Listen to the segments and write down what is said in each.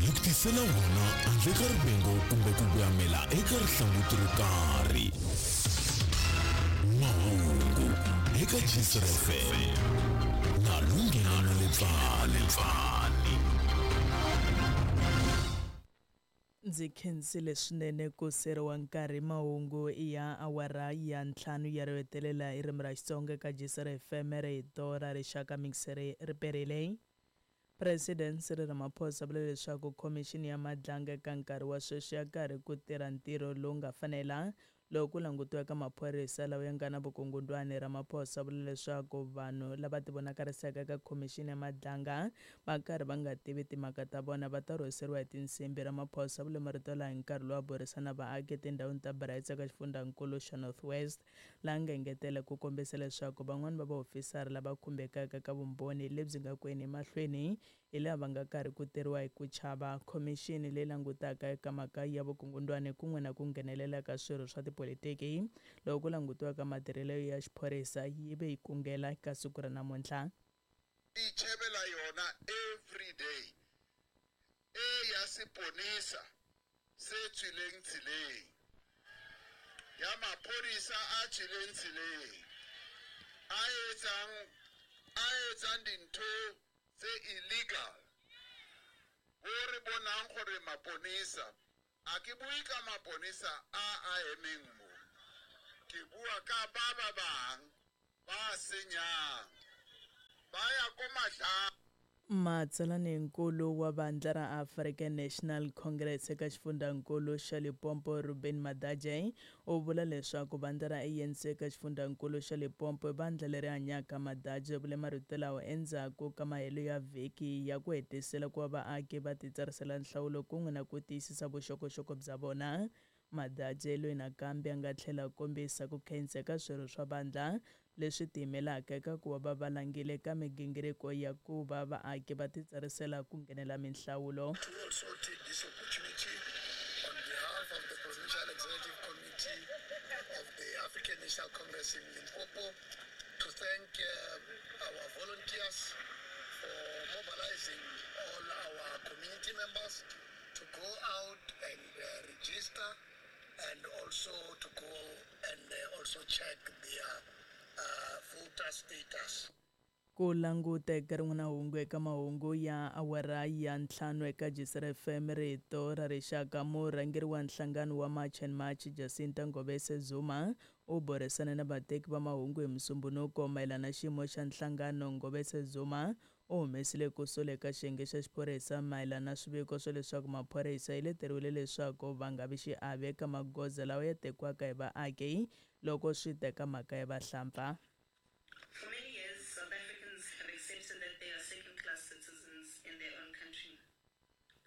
Hi ku tisela wona handle ka rivengo kumbe ku voyamela eka rihlanguti ro karhi. Mahungu eka Gcr FM na Lunghelo Letsane. Ndzi khensile swinene ku seriwa nkarhi mahungu ya awara ya ntlhanu ya ro hetelela hi ririmi ra Xitsonga eka Gcr FM rito ra rixaka mixere ri perile. President Cyril Ramaphosa vule leswaku khomixini ya Madlanga eka nkarhi wa sweswi ya karhi ku tirha ntirho lowu nga fanela loko ku langutiwa eka maphorisa lawa ya nga na vukungundwani. Ramaphosa vule leswaku vanhu lava tivonakarisaka eka khomixini ya Madlanga va karhi va nga tivi timhaka ta vona va ta rhweseriwa hi tinsimbhi. Ramaphosa vule marito lawa hi nkarhi lowu a burisana na vaaki etindhawini ta Brits eka xifundzankulu xa North West, laha nga engetela ku kombisa leswaku van'wana va vaofisara lava khumbekaka ka vumbhoni lebyi nga kweni emahlweni hi laha va nga karhi ku tirhiwa hi ku chava. Khomixini leyi langutaka eka mhaka ya vukungundwani kun'we na ku nghenelela ka swirho swa tipolitiki loko ku langutiwa ka matirhelo ya xiphorisa yi ve yi kungela ka siku ra namuntlha. Itjhebela yona every day e ya seponesa se tswileng tseleng, ya maphodisa a tswileng tseleng, a etsang a etsang dintho tse illegal. Bo re bonang gore maponesa, a ke bue ka maponesa a a emeng mo, ke bua ka ba ba bang ba senyang, ba ya ko Madlanga. Matsalaninkulu wa vandla ra African National Congress eka xifundzankulu xa Limpopo Ruben Madaje u vula leswaku vandla ra ANC eka xifundzankulu xa Limpopo i vandla leri hanyaka. Madaje u vule marito lawa endzhaku ka mahelo ya vhiki ya ku hetisela ku va vaaki va titsarisela nhlawulo kun'we na ku tiyisisa vuxokoxoko bya vona. Madaje loyi nakambe a nga tlhela a kombisa ku khensa eka swirho swa vandla leswi tiyimelaka eka ku va va valangile eka migingiriko ya ku va vaaki va titsarisela ku nghenela minhlawulo. To also take this opportunity on behalf of the Provincial Executive Committee of the African National Congress in Limpopo to thank our volunteers for mobilizing all our community members to go out and register and also to go and also check their voter status. Ku languta eka rin'wana hungu eka mahungu ya awara ya ntlhanu eka Gcr FM rito ra rixaka murhangeri wa nhlangano wa March and March Jacinta Ngobese Zuma u burisane na vateki va mahungu hi Musumbhunuko mayelana na xiyimo xa nhlangano. Ngobese Zuma u humesile ku sola eka xiyenge xa xiphorisa mayelana na swiviko swa leswaku maphorisa yi leteriwile leswaku va nga vi xiave eka magoza lawa ya tekiwaka hi vaaki loko swi teka mhaka ya vahlampfa. For many years, South Africans have accepted that they are second-class citizens in their own country.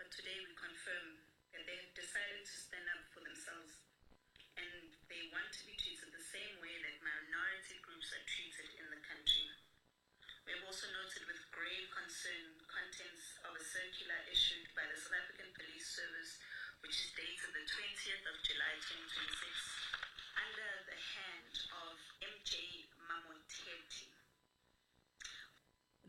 But today we confirm that they have decided to stand up for themselves, and they want to be treated the same way that minority groups are treated in the country. We have also noted with grave concern contents of a circular issued by the South African Police Service, which is dated the 20th of July 2026, under the hand of MJ Mamoteti.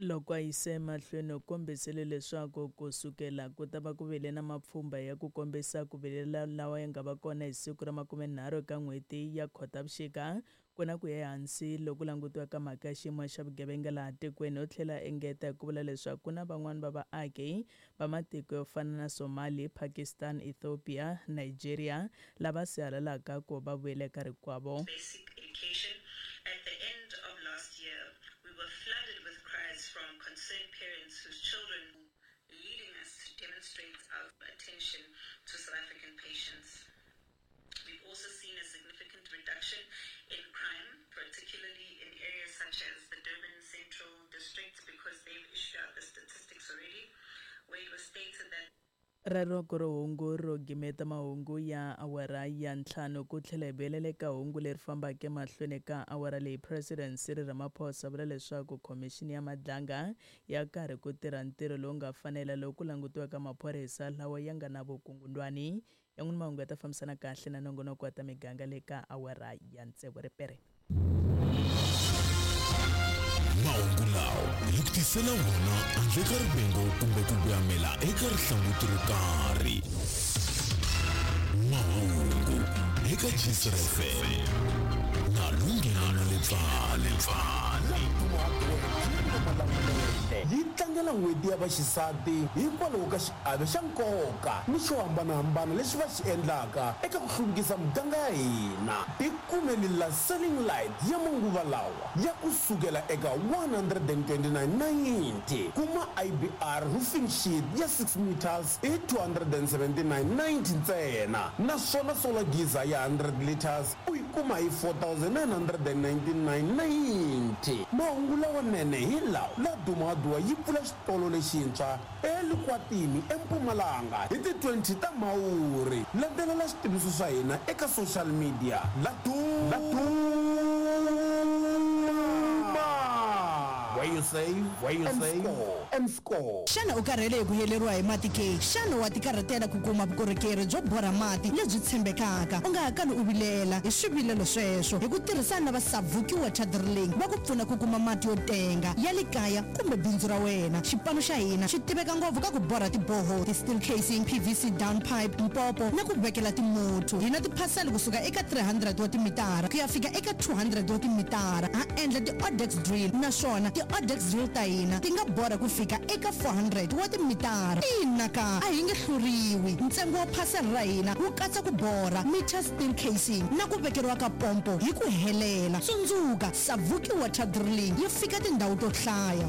Loko a yise emahlweni u kombisile leswaku ku sukela ku ta va ku vile na mapfhumba ya ku kombisa ku vilela lawa ya nga va kona hi siku ra 30 eka n'hweti ya Khotavuxika ku na ku ya ehansi loko langutiwa ka mhaka ya xiyimo xa vugevenga laha tikweni. U tlhela a engeta hi ku vula leswaku ku na van'wani va vaaki va matiko yo fana na Somali, Pakistan, Ethiopia, Nigeria lava sihalalaka ku va vuyela eka rikwavo. Basic education. At the end of last year, we were flooded with cries from concerned parents whose children leading us to demonstrate our attention to South African patients. We've also seen a significant reduction in crime, particularly in areas such as the Durban Central District, because they've issued out the statistics already, where it was stated that Rero ku ri hungu ro gimeta mahungu ya awara ya ntlhanu ku tlhela hi vuyelela eka hungu leri fambaka emahlweni ka awara leyi. President Cyril Ramaphosa vula leswaku khomixini ya Madlanga ya karhi ku tirha ntirho lowu nga fanela loko ku langutiwa ka maphorisa lawa ya nga na vukungundwani. Yan'wana mahungu ya ta fambisana kahle na nongonoko wa ta miganga le ka awara ya tsevu ripere. Mahungu lawa hi ku tisela wona handle ka rivengo kumbe ku voyamela eka rihlanguti ro karhi. Mahungu eka Gcr FM na Lunghelo Letsale. Yi tlangela N'hweti ya Vaxisati hikwalaho ka xiave xa nkoka ni xo hambanahambana lexi va xi endlaka eka ku hluvukisa miganga ya hina. Tikumeli la Selling Light ya manguva lawa ya ku sukela eka 129.90. Kuma IBR roofing sheet ya 6 meters hi 279.90 ntsena, naswona solar geyser ya 100 liters u yi kuma hi 4999.90. Mahungu lawanene hi lawa: La Dumaduwa yi pfula xitolo lexintshwa eLikwatini eMpumalanga hi ti 20 ta Mhawuri. Landzelela switiviso swa hina eka social media. La Duma, where you save, where you and save score, and score. Xana u karhele hi ku heleriwa hi mati ke? Xana wa tikarhatela ku kuma vukorhokeri byo borha mati lebyi tshembekaka? U nga ha kali u vilela hi swivilelo sweswo. Hi ku tirhisana na va Savuki Water Drilling, va ku pfuna ku kuma mati yo tenga ya le kaya kumbe bindzu ra wena. Xipano xa hina xi tiveka ngopfu ka ku borha ti-borehole, ti-steel casing, PVC down pipe, mpopo na ku vekela timuthu. Hi na tiphasela kusuka eka 300 wa timitara ku ya fika eka 200 wa timitara. Ha endla ti-odex drill, naswona ti-odex drill ta hina ti nga borha ku fika eka 400 wa timitara. Ina ka, a hi nge hluriwi. Ntsengo wa phasela ra hina wu katsa ku borha, meter steel casing na ku vekeriwa ka pompo hi ku helela. Tsundzuka, Savuki Water Drilling yi fika tindhawu to hlaya.